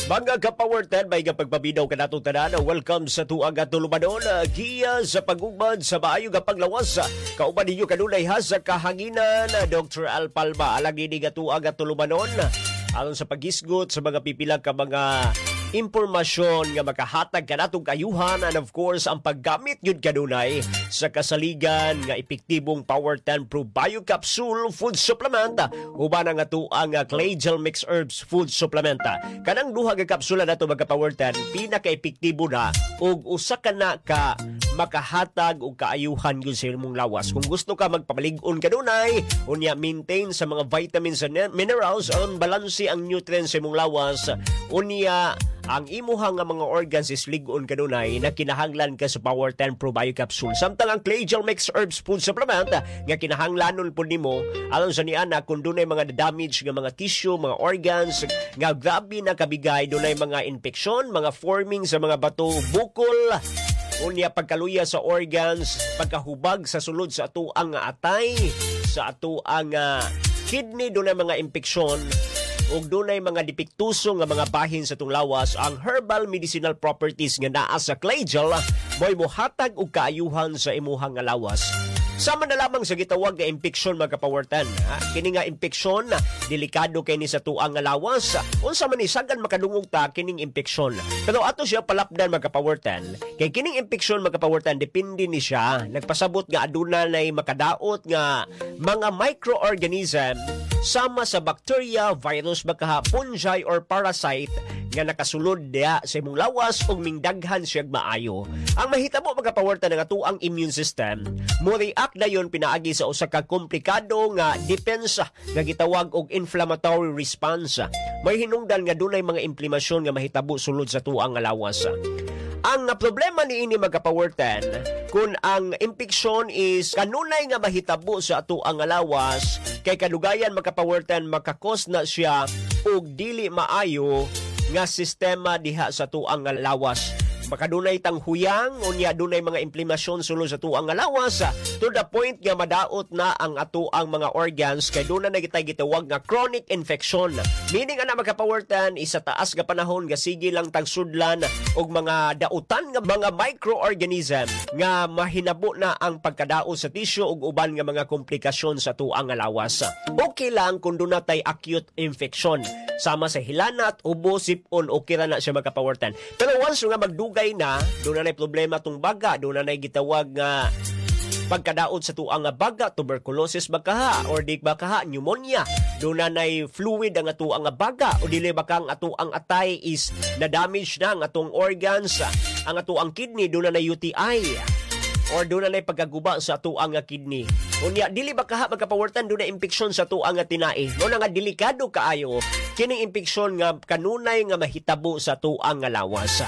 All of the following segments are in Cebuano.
Mga ka-Power 10, may pagpaminaw kanatong tanan. Welcome sa tuang tulumanon, giya sa pagugmad sa maayo nga paglawas. Kauban ninyo kanunay ha sa kahanginan, Dr. Al Palma. Alang ini nga tuang tulumanon, aron sa paghisgot sa mga pipila ka mga impormasyon nga makahatag kanatong kaayuhan and of course ang paggamit yun kanunay sa kasaligan nga epektibong Power 10 Pro Bio Capsule Food Supplement uban ang atoang Clay Gel Mix Herbs Food Supplement. Kanang duha ka kapsula nato, mga Power 10, pinaka-epektibo na ug usa ka na ka makahatag og kaayuhan yun sa imong lawas. Kung gusto ka magpamalig-on kanunay, unya maintain sa mga vitamins and minerals on balanse ang nutrients sa imong lawas, unya ang imuha nga mga organs is lig-on kanunay na kinahanglan ka sa Power 10 Pro Bio Capsule. Samtang ang Clay Gel Mix Herbs Food Supplement nga kinahanglanon po nimo aron sa niana kung dunay mga damage nga mga tissue, mga organs nga grabe na kabigay, dunay mga infeksyon, mga forming sa mga bato, bukol, unya pagkaluya sa organs, pagkahubag sa sulod sa atoang atay, sa atoang kidney, dunay mga impeksyon ug dunay mga depektuso nga mga bahin sa atong lawas. Ang herbal medicinal properties nga naa sa clay gel mo'y mohatag og kaayuhan sa imuhang nga lawas. Sama na lamang sa gitawag nga impeksyon, mga ka-Power 10. Ha? Kini nga impeksyon, delikado kay ni sa tuang nga lawas. Unsa man ni, sagan makadungog ta kining impeksyon. Pero ato siya palapdan, mga ka-Power 10. Kay kining impeksyon, mga ka-Power 10, depende ni siya. Nagpasabot nga aduna nay makadaot nga mga microorganism sama sa bacteria, virus, baka fungi or parasite nga nakasulod diya sa imong lawas ug mingdaghan siya maayo. Ang mahitabo, mga ka-Power 10, nga atoang immune system mo react dayon pinaagi sa usa ka komplikado nga depensa nga gitawag og inflammatory response. May hinungdan nga dunay mga inflamasyon nga mahitabo sulod sa tuang nga lawas. Ang problema niini, mga ka-Power 10, kung ang impeksyon is kanunay nga mahitabo sa atoang nga lawas, kay kadugayan, mga ka-Power 10, maka-cause na siya og dili maayo nga sistema diha sa tuang nga lawas. Makadunay tang huyang, unya dunay mga inflamasyon sulod sa tuang nga lawas to the point nga madaot na ang atoang mga organs kay doon na gitay gitawag nga chronic infection. Meaning ana, mga ka-Power 10, isa taas nga panahon nga sige lang tag sudlan og mga dautan nga mga microorganism nga mahinabo na ang pagkadaot sa tissue ug uban nga mga komplikasyon sa tuang nga lawas. Okay lang kung doon natay acute infection sama sa hilanat, ubo, sipon, okay ra na siya, mga ka-Power 10. Pero once nga magdugay na, doon na problema tong baga, doon na gitawag nga pagkadaot sa tuang nga baga, tuberculosis bakaha, or di bakaha, pneumonia. Doon na nay fluid ang atuang nga baga, o dili baka ang atuang atay is na-damage na ang atong organs, ang atuang kidney, doon na nay UTI or doon na pagkaguba sa atuang nga kidney. Unya dili ba kaha, mga ka-Power 10, doon na impeksyon sa tuang nga tinai. Mo na nga delikado kaayo kining impeksyon nga kanunay nga mahitabo sa tuang nga lawas.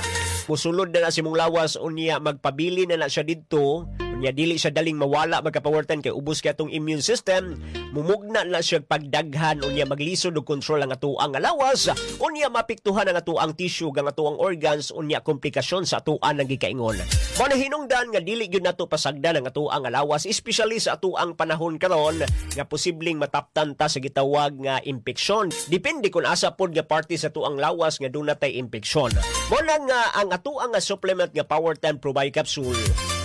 Musulod na na si mong lawas, unya magpabili na na siya didto, unya dili siya daling mawala, mga ka-Power 10, kay ubos kay atong immune system. Mumugna na siya pagdaghan, unya maglisod og kontrol ang atoang nga lawas, unya mapiktuhan ang atoang tissue ang atoang organs, unya komplikasyon sa atoan ang gikaingon. Mao na hinungdan nga dili gyud nato pasagdan ang atoang nga lawas, especially sa atoang panahon karon nga posibleng mataptan ta sa gitawag nga impeksyon. Depende kung asa pod nga parte sa atoang lawas nga duna tay impeksyon. Mao na nga ang atoang nga supplement nga Power 10 Probio Capsule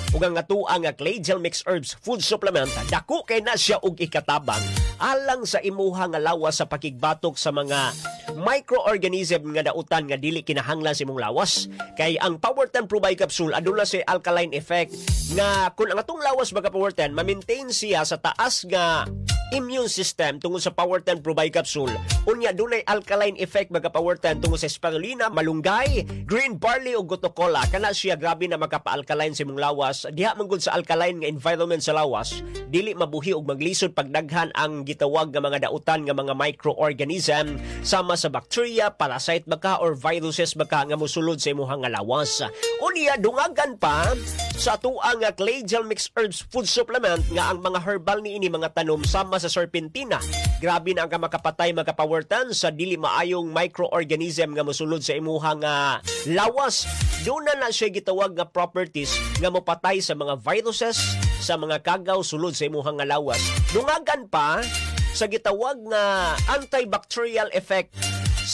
ug ang atoang nga Clay Gel Mix Herbs Food Supplement, dako kay na siya og ikatabang alang sa imuha nga lawas sa pakigbatok sa mga microorganism nga dautan nga dili kinahanglan sa imong lawas. Kay ang Power 10 Probio Capsule, aduna si alkaline effect nga kung ang atong lawas, mga Power 10, ma-maintain siya sa taas nga immune system tungod sa Power 10 Probio Capsule. Unya dunay alkaline effect, mga Power 10, tungod sa spirulina, malunggay, green barley ug gotu kola. Kana siya grabe na makapa-alkaline sa imong lawas. Diha man gud sa alkaline nga environment sa lawas, dili mabuhi og maglisod pagdaghan ang gitawag nga mga dautan nga mga microorganism sama sa bacteria, parasite baka or viruses baka nga mosulod sa imong nga lawas. Unya dungagan pa sa atoang nga Clay Gel Mix Herbs Food Supplement nga ang mga herbal niini mga tanom sama sa serpentina. Grabe na ang makapatay, mga ka-Power 10, sa dili maayong microorganism nga mosulod sa imuhang lawas. Doon na na siya gitawag nga properties nga mopatay sa mga viruses, sa mga kagaw sulod sa imuhang nga lawas. Dungagan pa sa gitawag nga antibacterial effect.